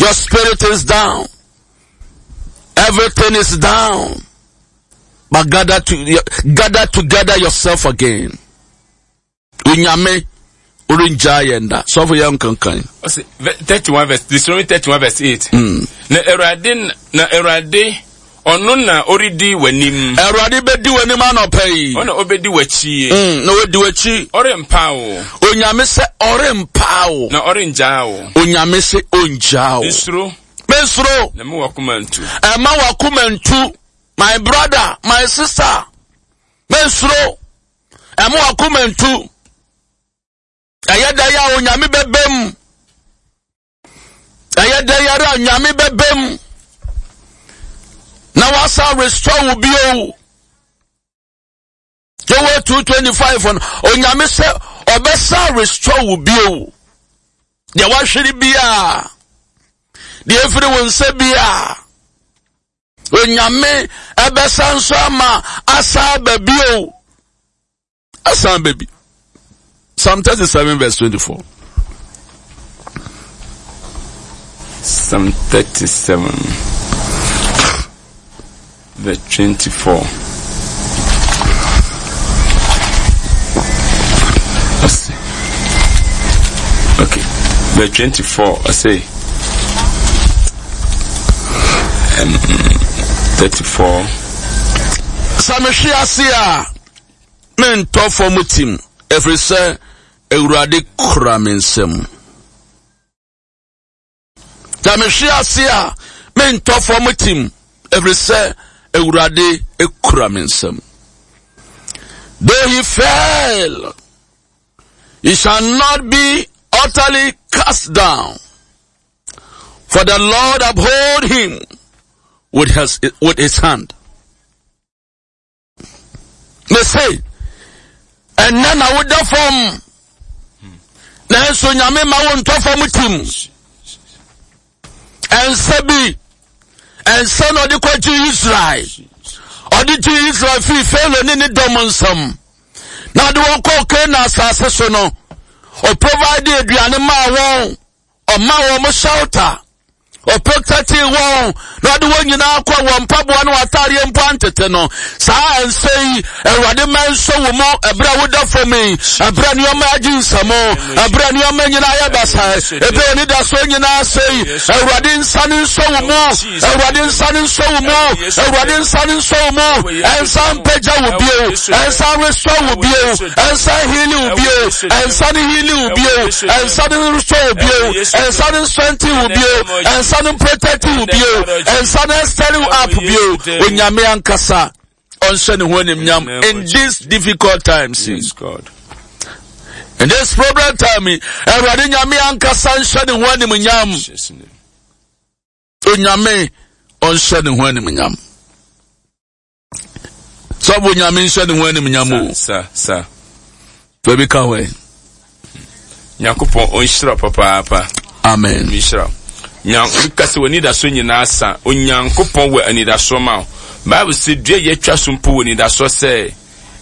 Your spirit is down. Everything is down. But gather to gather together yourself again. Onyame orengyaa yɛn da. Sɔfo yɛn nkankan. Ɔsi 31 verse Deuteronomy 31 verse 8. Na Awurade na Awurade ɔno na ɔredi w'anim. Awurade bɛdi w'anim anɔpa yi. Ɔna ɔbɛdi w'akyi. Na ɔdi w'akyi. Ɔrempa wo. Onyame sɛ ɔrempa wo. Na ɔrengyaa wo. Onyame sɛ ɔngyaa wo. Nsuro. Mensuro. Na mma w'akoma ntu. Ɛma w'akoma ntu. My brother, my sister. Mensuro. Ɛma w'akoma ntu. Ɛyɛ dɛ yɛ a Onyame bɛbɛ mu. Ɛyɛ dɛ yɛrɛ a Nyame bɛbɛ mu. Na wasa restore wo bio. Joel 2:25 no, Onyame sɛ ɔbɛsa restore wo bio. Deɛ wahwere biara, deɛ efiri wo nsa biara, Onyame ɛbɛsa nso ama asa aba bio. Asa aba bi. Psalm 37 verse 24. Psalm 37 verse 24. Ɔse, okay, verse 24, ɔse, 34. Sɛ mehwe ase a, mentɔ fam tim, ɛfiri sɛ Awurade kura me nsam. Sɛ mehwe ase a, mentɔ fam tim, ɛfiri sɛ Awurade kura me nsam. Though he fell, he shall not be utterly cast down. For the Lord uphold him with his hand. Me se, ɛnɛ na woda fam, nanso Nyame ma wo ntɔ fam tim. Ɛnsɛ bi, ɛnsɛ na ɔde kɔgye Israel. Ɔde gye Israel firi Farao ne ne dɔm nsam. Na ɔde wɔn kɔɔ Canaan asase so no, ɔprovide aduane maa wɔn, ɔmaa wɔn shelter. Ɔprotɛtee wɔn na ɔde wɔn nyinaa kɔ wɔn mpaboa ne wɔn ataadeɛ mpo antete no. Saa nsa yi, Awurade ma nso wo mu ɛberɛ a woda fam yi, ɛberɛ a nneɛma agye nsam, ɛberɛ a nneɛma nyinaa yɛ basaa, ɛberɛ a anidasoɔ nyinaa sɛe. Awurade nsa no nsɔ wo mu, Awurade nsa no nsɔ wo mu, Awurade nsa no nsɔ wo mu, ɛnsa mpagya wo bio, ɛnsa restore wo bio, ɛnsa heal wo bio, ɛnsa no heal wo bio, ɛnsa no restore wo bio, ɛnsa no strengthen wo bio, ɛnsa no protect wo bio, ɛnsa no extend wo up bio. Onyame ankasa ɔnhyɛ ne ho animnyam in these difficult times. Yes, God. In this problem time, Awurade Nyame ankasa nhyɛ ne ho animnyam. Onyame ɔnhyɛ ne ho animnyam. Sɔfo Nyame nhyɛ ne ho animnyam o. Sa sa. Baabi ka hɔ ɛ. Nyankopɔn ɔnhyira papaapa. Amen. Nhyira. Nyanka sɛ w'anidasoɔ nyinaa sa. Onyankopɔn wɔ anidasoɔ ma wo. Bible sɛ dua yɛatwa so mpo wɔ anidasoɔ sɛ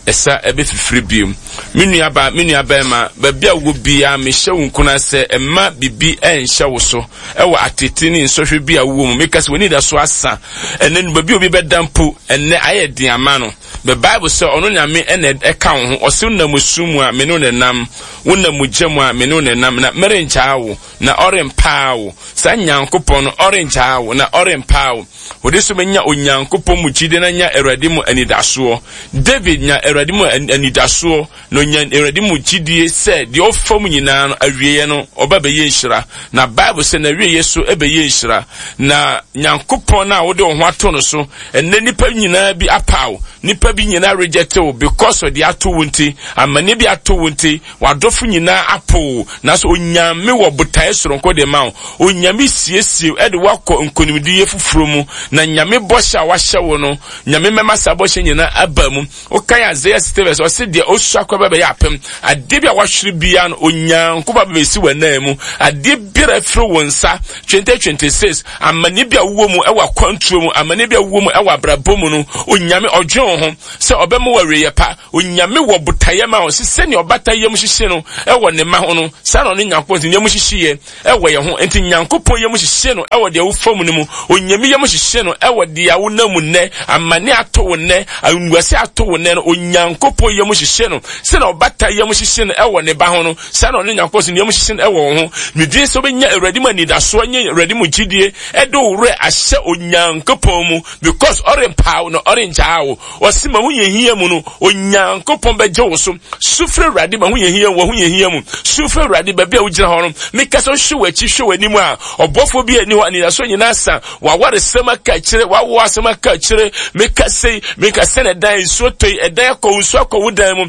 ɛsa ɛbɛfifiri bio. Me nuabaa, me nuabarima, baabi a wowɔ biara, mehyɛ wo nkuran sɛ mma biribi ɛnhyɛ wo so ɛwɔ atete ne nsɔhwɛ bi a wowɔ mu. Meka sɛ w'anidasoɔ asa. Ɛnɛ no, baabi a obi bɛda mpo, ɛnɛ ayɛ den ama no. The Bible sɛ ɔno Nyame ɛna ɛka wo ho. Ɔse wonam osu mu a, me ne wo na ɛnam. Wonam ogya mu a, me ne wo na ɛnam. Na merengyaa wo, na ɔrempaa wo. Saa Nyankopɔn no, ɔrengyaa wo, na ɔrempaa wo. Wode so bɛnya Onyankopɔn mu gyidie na nya Awurade mu anidasoɔ. David nya Awurade mu anidasoɔ na ɔnya Awurade mu gyidie sɛ deɛ ɔfa mu nyinaa no awieɛ no ɔba bɛyɛ nhyira. Na Bible sɛ n'awieɛ so ɛbɛyɛ nhyira. Na Nyankopɔn no a wode wo ho ato no so, ɛnnɛ nnipa nyinaa bi apaw, nnipa bi nyinaa reject wo because of deɛ ato wo nti, amanneɛ bi ato wo nti, W'adɔfo nyinaa apo wo, nanso Onyame wɔ botaeɛ soronko de ma wo. Onyame siesie wo de wo akɔ nkonimdiyɛ foforɔ mu, na Nyame bɔhyɛ a wahyɛ wo no, Nyame mɛma saa bɔhyɛ nyinaa aba mu. Wokan Isaiah. Isaiah 60 verse ɔse deɛ ɔsua kɔ bɛbɛyɛ apem. Adeɛ bi a wahwere biara no Onyankopɔn bɛbɛsi w'anan mu. Adeɛ biara afiri wo nsa 2026 amanneɛ bi a wowɔ mu ɛwɔ akwantuo mu, amanneɛ bi a wowɔ mu ɛwɔ abrabɔ mu no, Onyame ɔdwen wo ho sɛ ɔbɛma wo awieeɛ pa. Onyame wɔ botaeɛ ma wo sɛ sɛnea ɔbata yam hyehye no ɛwɔ ne mma ho no, saa na ɔne Nyankopɔn nso yam hyehyeɛ ɛwɔ yɛn ho. Nti Nyankopɔn yam hyehye no ɛwɔ deɛ wofa mu no mu. Onyame yam hyehye no ɛwɔ deɛ wonam mu nnɛ, amane ato wo nnɛ, anguase ato wo nnɛ no, Onyankopɔn yam hyehye no. Sɛnea ɔbata yam hyehye no ɛwɔ ne ba ho no, saa na ɔne Nyankopɔn nso ne yam hyehye no ɛwɔ wo ho. Medwene sɛ wobɛnya Awurade mu anidasoɔ nye Awurade mu gyidie ɛde wo werɛ ahyɛ Onyankopɔn mu because ɔrempa wo na ɔrengyaa wo. Ɔse ma ho yɛ hia mu no, Onyankopɔn bɛgye wo so. Su frɛ Awurade ma ho yɛ hia wɔ ho yɛ hia mu. Su frɛ Awurade baabi a wogyina hɔ no. Meka sɛ wohwɛ w'akyi hwɛ w'anim a, ɔbɔfoɔ bi ani hɔ, anidasoɔ nyinaa sa. W'awaresɛm aka akyire, w'awo asɛm aka akyire. Meka sɛ, meka sɛ na ɛdan nsuo tɔ yi, ɛdan akɔ nsuo akɔ wo dan mu.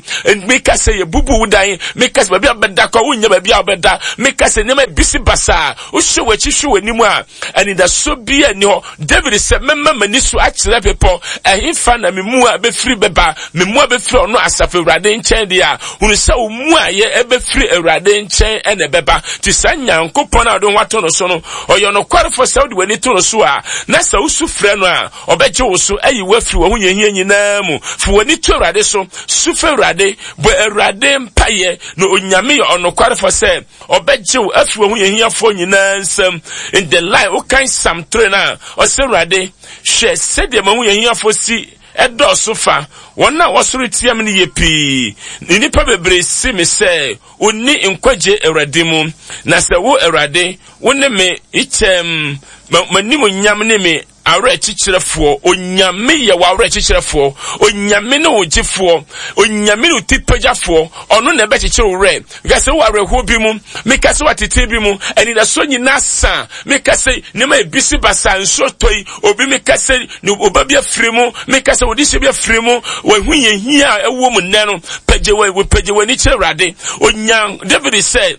Meka sɛ yɛbubu wo dan. Meka sɛ baabi a wobɛda kɔ, wonnya baabi a wobɛda. Meka sɛ nneɛma ebisi basaa. Wohwɛ w'akyi hwɛ w'anim a, anidasoɔ bi ani hɔ. David sɛ, Mɛma m'ani so akyerɛ bepɔ, ɛhefa na me mmoa bɛfiri bɛba? Me mmoa bɛfiri ɔno Asafo Awurade nkyɛn deɛ a, hunu sɛ wo mmuaeɛ bɛfiri Awurade nkyɛn na ɛbɛba. Nti saa Nyankopɔn a wode wo ho ato no so no, ɔyɛ ɔnokwarefoɔ sɛ wode w'ani to no so a, na sɛ wosu frɛ no a, ɔbɛgye wo so ayi wo afiri w'ahohiahia nyinaa mu. Fa w'ani to Awurade so, su frɛ Awurade, bɔ Awurade mpaeɛ, na Onyame yɛ ɔnokwarefoɔ sɛ Ɔbɛgye wo afiri w'ahohiahiafoɔ nyinaa nsam. In the line, wokan Psalm 3 no a, ɔsɛ Awurade, hwɛ sɛdeɛ m'ahohiahiafoɔ si ɛdɔɔso fa. Wɔn a wɔsɔre tia me no yɛ pii. Nnipa bebree se me sɛ, Onni nkwagye Awurade mu. Na sɛ wo, Awurade, wo ne me kyɛm, m'animuonyam ne me Awerɛkyekyerɛfoɔ, Onyame yɛ w'awerɛkyekyerɛfoɔ, Onyame ne wo gyefoɔ, Onyame ne wo tipagyafoɔ, ɔno na ɛbɛkyekyere wo werɛ. Meka sɛ wɔ awerɛhoɔ bi mu, meka sɛ wɔ atetee bi mu, anidasoɔ nyinaa sa, meka sɛ nneɛma ebisi basaa, nsuo tɔ yi, obi meka sɛ ne ɔba bi afiri mu, meka sɛ wɔde bi afiri mu, wɔahu yɛn hia a ɛwɔ mu nnɛ no, pagye w'ani kyerɛ Awurade. Onya David sɛ,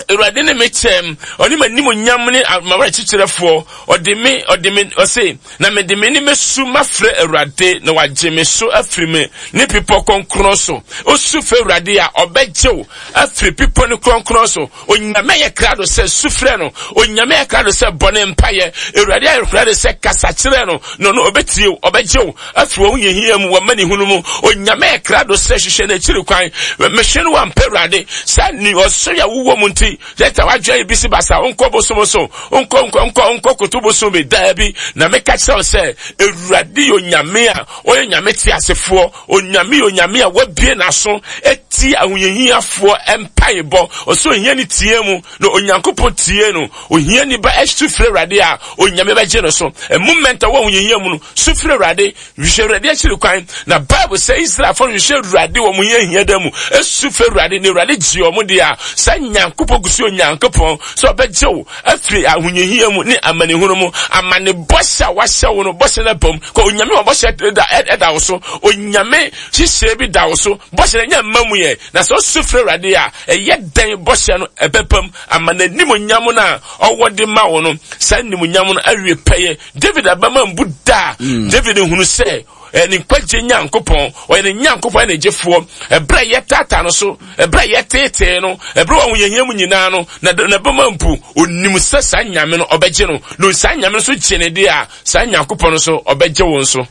Awurade ne me kyɛm, ɔne m'animuonyam ne m'awerɛkyekyerɛfoɔ. Ɔde me, ɔde me, ɔse, na mede me ne mɛsu mafrɛ Awurade, na wagye me so afiri me ne bepɔ kronkron so. Osu frɛ Awurade a, ɔbɛgye wo afiri bepɔ no kronkron so. Onyame ayɛ krado sɛ su frɛ no. Onyame ayɛ krado sɛ bɔ ne mpaeɛ. Awurade ayɛ krado sɛ kasa kyerɛ no, na ɔno ɔbɛtie wo, ɔbɛgye wo afiri wɔn hiahia mu, wɔn amanehunu mu. Onyame krado sɛ hwehwɛ n'akyiri kwan. Mehwɛ no wampɛ Awurade. Saa ni ɔsɔre a wowɔ mu nti, yɛta wadwene bi si basa, nkɔ bosom so, nkɔ nkɔ nkɔ nkɔ koto bosom bi, daabi. Na meka kyerɛ wo sɛ, Awurade yɛ Onyame a ɔyɛ Onyame teasefoɔ. Onyame yɛ Onyame a wabue n'aso atie ahohiahiafoɔ mpaebɔ. Ɔsɛ ohia ne tie mu, na Onyankopɔn tie no. Ohiani ba su frɛ Awurade a, Onyame bɛgye no so. A moment a wɔ ahohiahia mu no, su frɛ Awurade, hwehwɛ Awurade akyiri kwan. Na Bible sɛ Israelfoɔ no hwehwɛ Awurade wɔ wɔn hiahia da mu, su frɛ Awurade, na Awurade gye wɔn deɛ a, saa Nyankopɔn gu so yɛ Onyankopɔn sɛ ɔbɛgye wo afiri ahohiahia mu ne amanehunu mu. Amane bɔhyɛ a wahyɛ wo no, bɔhyɛ no aba mu. Kɔ Onyame wɔ bɔhyɛ da ɛda wo so. Onyame hyehyɛ bi da wo so. Bɔhyɛ no ɛnyɛ mma mu yɛ. Na sɛ wosu frɛ Awurade a, ɛyɛ dɛn bɔhyɛ no ɛbɛba mu ama n'animuonyam no a ɔwɔ de ma wo no, saa animuonyam no awie pɛyɛ. David abama mbu da. David hunu sɛ ne nkwagye Nyankopɔn, ɔyɛ ne Nyankopɔn ne gyefoɔ. Ɛberɛ a yɛtaataa no so, ɛberɛ a yɛteetee no, ɛberɛ a wɔn mu nyinaa no, na n'abama mpu. Onim sɛ saa Nyame no ɔbɛgye no, na saa Nyame no nso gye ne deɛ a, saa Nyankopɔn no nso ɔbɛgye wo nso.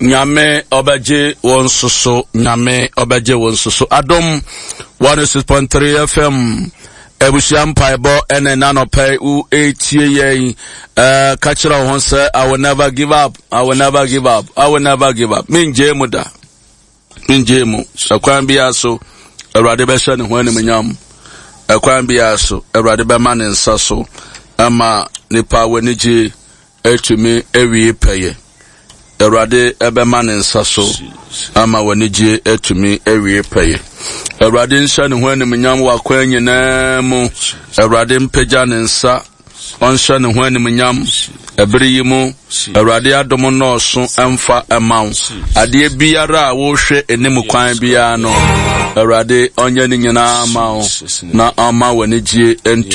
Nyame ɔbɛgye wo nso so. Nyame ɔbɛgye wo nso so. Adom 106.3 FM abusua mpaebɔ ɛna ɛna nɔpɛ wo etie yɛn ɛɛ ka kyerɛ wo ho sɛ I will never give up I will never give up I will never give up mengye mu da mengye mu ɛkwan biara so Awurade bɛhyɛ ne ho animuonyam ɛkwan biara so Awurade bɛma ne nsa so ɛma nipa w'ani gye atumi awie pɛyɛ. Awurade bɛma ne nsa so ama w'anigye atumi awie pɛyɛ. Awurade nhyɛ ne ho animuonyam wɔ akwan nyinaa mu. Awurade mpagya ne nsa, ɔnhyɛ ne ho animuonyam ɛbere yi mu. Awurade adom nnɔɔso mfa mma wo. Adeɛ biara a wohwɛ anim kwan biara no, Awurade ɔnyɛ ne nyinaa ma wo na ɔma w'anigye ntu.